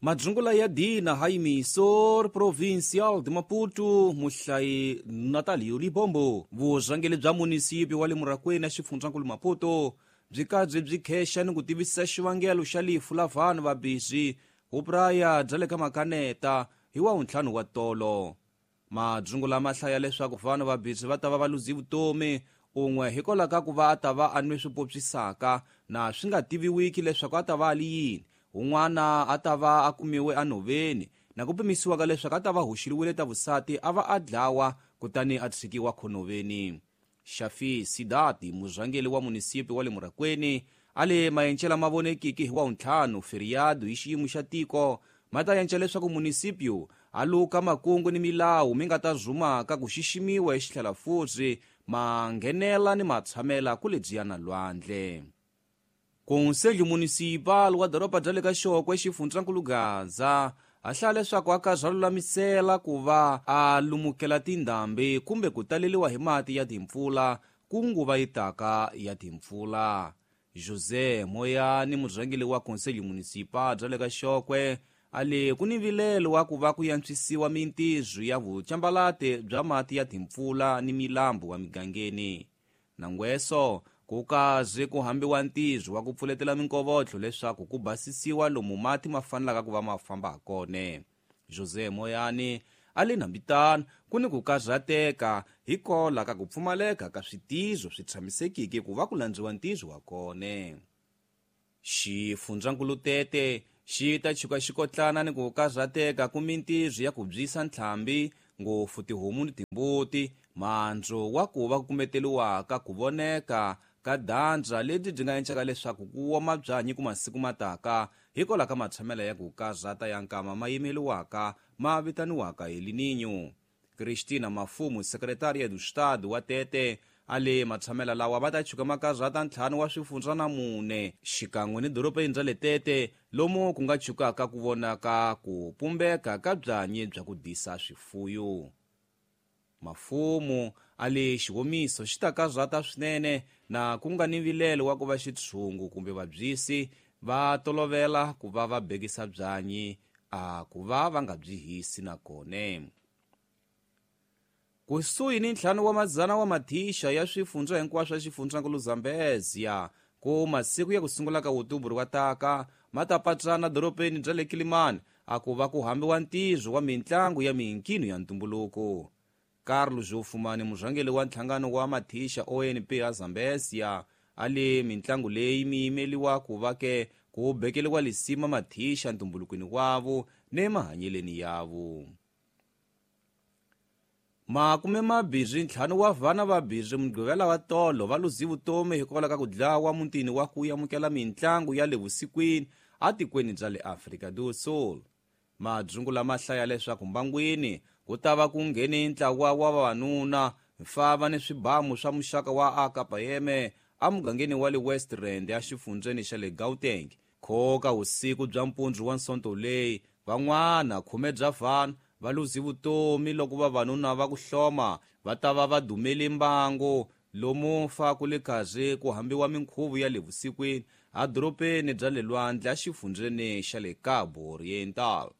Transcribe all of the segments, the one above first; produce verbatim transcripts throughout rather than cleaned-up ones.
Madzungula ya Dina Hayimisor Provincial de Maputo muhlayi Natalio Libombo. Vurhangeri bya munisipi wa le Murakwena xifundzankulu Maputo byi kabyi byi khexa ni ku tivisa xivangelo xa lifu la vanhu va busy vupraya bya le ka makaneta hi wa ntlhanu wa tolo. Madzungula ma hlaya leswaku vanhu va busy va ta va va luzi vutomi un'we hikwalaho ka ku va a ta va a nwe swipopyisaka na swi nga tiviwiki leswaku a ta va a li yini. Un'wana a ta va a kumiwe enhoveni na ku pimisiwa ka leswaku a ta va hoxeriwile ta vusati a va a dlawa kutani a tshikiwa khonoveni. Shafi Sidati murhangeri wa munisipi wa le Murakwena a le mayencela ma vonekiki hi wa ntlhanu feriado hi xiyimo xa tiko ma ta yenca leswaku munisipio a luka makungu ni milawu mi nga ta zumaka ku xiximiwa exitlhela futhi ma nghenela ni matshamela ku lebyiya na lwandle. Conselho Municipal wa doroba bya le ka Xokwe xifundzankulu Gaza a hlaya leswaku a ka lulamisela ku va a lumukela tindhambi kumbe ku taleriwa hi mati ya timpfula ku nguva yi taka ya timpfula. José Moyani murhangeri wa Conselho Municipal bya le ka Xokwe a le ku ni vilelo wa ku va ku yantswisiwa mintirho ya vucambalate bya mati ya timpfula ni milambu wa migangeni. Nangweso ku kaze ku hambiwa ntirho wa ku pfuletela minkovotlo leswaku ku basisiwa lomu mati ma fanelaka ku va ma famba kona. José Moyani a le nambitano ku ni ku karhateka hikola ka ku pfumaleka ka switizo swi tshamisekiki ku va ku landziwa ntirho wa kona. Xifundzankulu Tete xi ta chuka xikotlana ni ku karhateka ku mintirho ya ku byisa ntlhambi ngopfu tihomu ni timbuti mandzu wa ku va ku kumeteriwaka ku voneka ka dandza lebyi byi nga encaka leswaku ku woma byanyi ku masiku mataka hikwalaho ka matshamela ya ku karhata ya nkama ma yimeriwaka ma vitaniwaka El Niño. Cristina Mafumo secretaria do Estado wa Tete a le matshamela lawa va ta chuka makarhata ntlhanu wa swifundza na mune xikan'we ni dorobeni ra le Tete lomu ku nga chukaka ku vonaka ku pumbeka ka byanyi bya ku disa swifuyo. Mafumo a le xihomiso xi ta karhata swinene na ku nga ni vilelo wa ku va xitshungu kumbe vabyisi va tolovela ku va va bekisa byanyi a ku va va nga byi hisi na kona. Kusuhi ni ntlhanu wa madzana wa mathixa ya swifundza hinkwaswo swa xifundzankulu Zambezia ku masiku ya ku sungula ka Outubro wa taka ma ta patsana dorobeni bya le Kilimani a ku va ku hambiwa ntirho wa mintlangu ya minkino ya ntumbuluko. Carlos Jofumani murhangeri wa nhlangano wa mathixa O N P ya Zambezia a le mintlangu leyi mi yimeliwa ku va ke ku bekeliwa lisima mathixa ntumbulukweni wavo ne mahanyeleni yavo. Makume mabirhi ntlhanu wa vana vabirhi mugqivela wa tolo va luzi vutomi hikwalaho ka ku dlawa mutini wa ku amukela mintlangu ya le vusikwini atikweni bya le Afrika do Sul. Madzungula ma hlaya leswaku mbangwini ku ta va ku nghene ntlawa wa vavanuna mfava ni swibamu swa muxaka wa A K M emugangeni wa le West Rand exifundzeni xa le Gauteng. Khoka vusiku bya mpundzu wa Sonto leyi van'wana khume bya vanhu va luzi vutomi loko vavanuna va ku hloma va ta va va dumele mbangu lomu fa ku le kaze ku hambiwa minkhuvo ya le vusikwini edorobeni bya le lwandle exifundzeni xa le Cabo Oriental.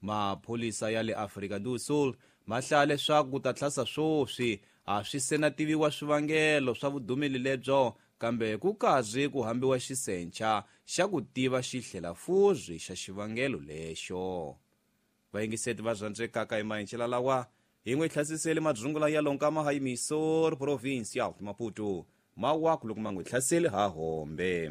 Mapholisa ya le Afrika do Sul ma hlaya leswaku ku ta tlhasa swoswi a swi se na tiviwa swivangelo swa vudumeli lebyo kambe ku kaze ku hambiwa xisencha xa ku tiva xihlelafuzwi xa xivangelo lexo. Vayingiseti va rhandzekaka hi mahencela lawa hi n'wi hlasisele madzungula ya lonkama Hayimisor Provincial Maputo mawaku loko ma n'wi hlaseli ha hombe.